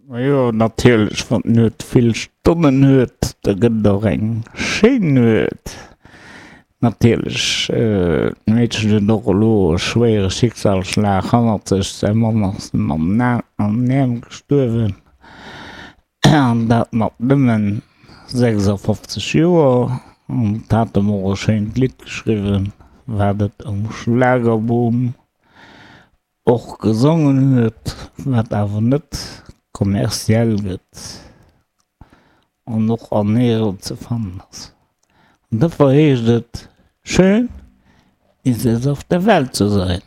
Majo natierlech, wann d'Nuet vill Stonnen huet, da gëtt et och eng schéin Nuet. Natierlech, d'Meedchen huet och elo e schwéiere Schicksalsschlag hannert sech, säi Mann ass em an den Äerm gestuerwen, an dat mat nëmmen 56 Joer. An et hat em och e schéint Lidd geschriwwen, wat et um Schlagerboom och gesongen huet, wat awer net kommerziell gëtt an och an nirgends ze fannen ass. An dofir heescht et, Schön ist es auf der Welt zu sein.